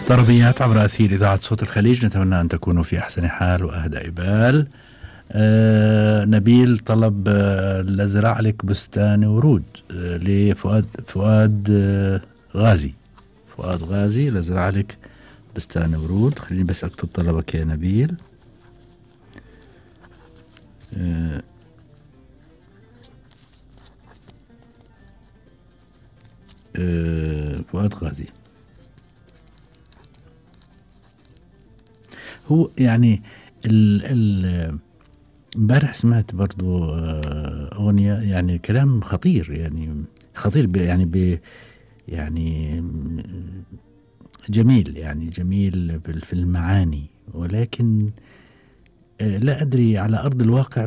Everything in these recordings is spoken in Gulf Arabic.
طربيات عبر أثير إذاعة صوت الخليج، نتمنى أن تكونوا في أحسن حال وأهدأ بال. نبيل طلب لزرع لك بستان ورود لفؤاد غازي. فؤاد غازي لزرع لك بستان ورود. خليني بس أكتب طلبك يا نبيل. فؤاد غازي هو يعني امبارح سمعت برضو أغنية، يعني كلام خطير، يعني خطير يعني جميل، يعني جميل في المعاني، ولكن لا أدري على أرض الواقع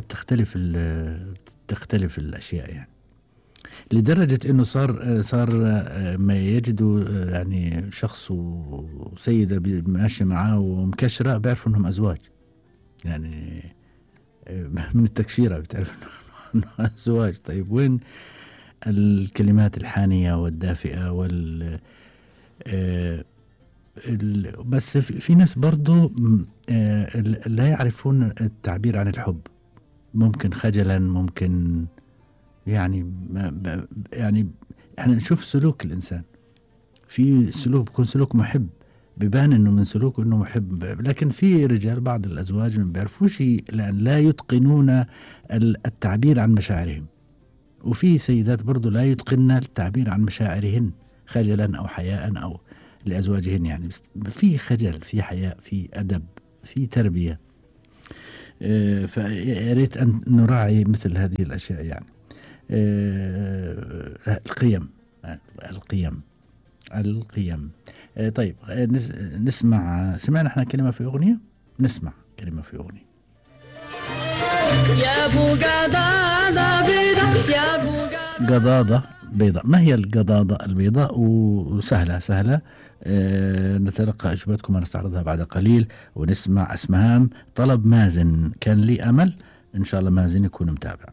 تختلف الأشياء، يعني لدرجة أنه صار ما يجدوا يعني شخص وسيدة ماشية معاه ومكشرة بيعرفوا أنهم أزواج، يعني من التكشيرة بتعرف أنه أزواج. طيب وين الكلمات الحانية والدافئة بس في ناس برضو لا يعرفون التعبير عن الحب، ممكن خجلا، ممكن يعني يعني احنا نشوف سلوك الإنسان، في سلوك بيكون سلوك محب، بيبان انه من سلوكه انه محب، لكن في رجال بعض الازواج ما بيعرفوش لان لا يتقنون التعبير عن مشاعرهم، وفي سيدات برضو لا يتقنن التعبير عن مشاعرهن خجلا او حياء او لازواجهن، يعني في خجل، في حياء، في ادب، في تربية. فياريت ان نراعي مثل هذه الاشياء، يعني القيم. طيب سمعنا احنا كلمة في أغنية، نسمع كلمة في أغنية. يا ابو قضاضة بيضاء، يا ابو قضاضة بيضاء. ما هي القضاضة البيضاء؟ وسهلة نتلقى أجوبتكم ونستعرضها بعد قليل، ونسمع اسمهام. طلب مازن، كان لي أمل. إن شاء الله مازن يكون متابع.